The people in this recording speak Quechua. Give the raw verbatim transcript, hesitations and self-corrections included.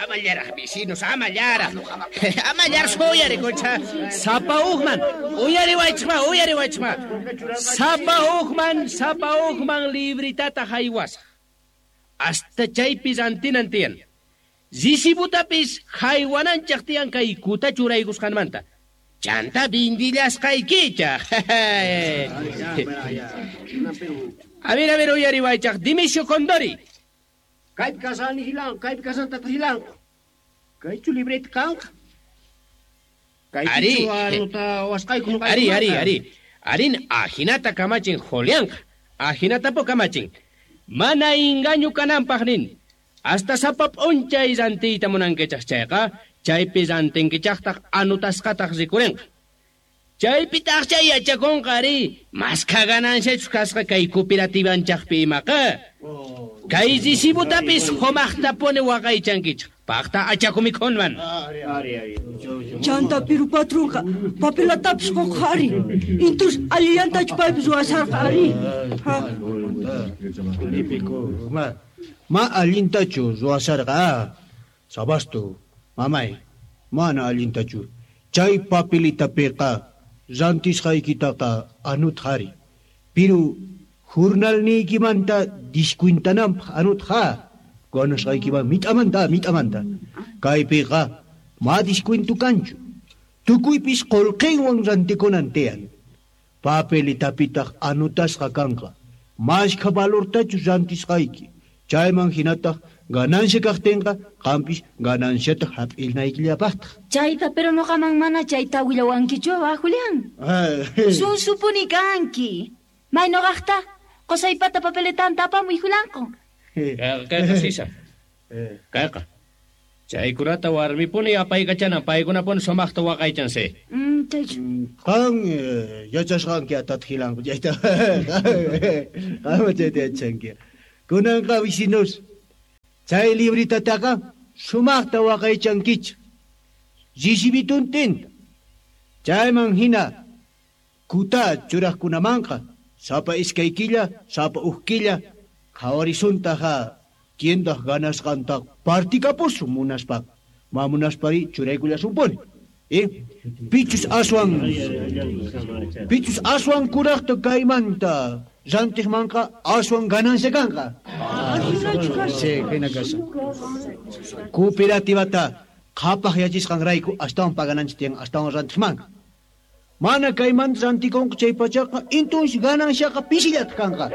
Amallaraq vecinos, amallaraq. Amallaraq uyarikucha. Sapa uqman, uyariwaychikma, uyariwaychikma. Sapa uqman, sapa uqman libritata haywasaq. Hasta chaypi rantinan tiyan. Risibutapis haywananchaq tiyan kay kuta churaykusqanmanta. Chanta bindillasqaykichaq. A ver, a ver, uyariwaychaq. Dimisio Condori. Kaypi kasani hilanqa, kaypi kasan tata hilanqa. Kaychu libreta kanqa? Ari. Ari, ari, ari. Arin ajinata kamachin Julianqa. Ajinatapo kamachin. Mana engaño kananpaq nin. Hasta sapa p'unchay rantiyta munankichaq chayqa, chaypi rantinkichaqtaq anutasqataq rikurinqa. Chaypitaq chay yachakunqa ari, maskha gananciachus kasqa kay cooperativanchaqpi imaqa. Kay recibutapis sumaqtapuni waqaychankichaq. Paqta achakumikhunman. Chanta piru patronqa papelatapis quqa ari. Intus allillantachu paypis ruwasharqa ari. Ha. Ma, ma allintachu ruwasharqa. Sabastu, mamay, mana allintachu. Chay papelitapiqa rantisqaykitaqa anutqari. Piru jurnalniykimanta discuintananpaq anutqa. Ganasqaykiman mit'amanta, mit'amanta. Kaypiqa ma discuintu kanchu. Tukuypis qullqinwan rantikunan tiyan. Papelitapitaq anutasqa kanqa. Mashkha valortachu rantisqayki. Chayman hinataq ganancia kaqtinqa qampis gananciata hap'ilnaykillapaqtaq. Chayta pero noqaman mana chayta willawankichu, ah, Julián. Sunsupuni kanki. May noqaqta qusaypata papeletanta apamuy Julianqa. Kayqa sisa. Kayqa. Chaykunata warmipuni apaykachanan, paykunapuni sumaqta waqaychansi. Mm, chaychu. Qan yachasqanki tata hilanqa chayta. Qan chayta yachanki. Kunanqa vecinos, chay libritataqa sumaqta waqaychankichik. Risibituntinta. Chayman hina kuta churaqkunamanqa sapa iskay killa, sapa uj killa qhawarisuntaqa tiendaq ganasqanta partikapusun munaspaqa. Ma munaspari churaykullasunpuni. Eh? Pichus aswan pichus aswan kuraqta kaymanta rantiqmanqa aswan ganancia kanqa. Sí, hina kashan. Cooperativata qhapaq yachisqanrayku astawan pagananchik tiyan, astawan rantiqmanqa. Mana kaymanta rantikunqa chay pachaqa intunsi gananciaqa pisillata kanqa.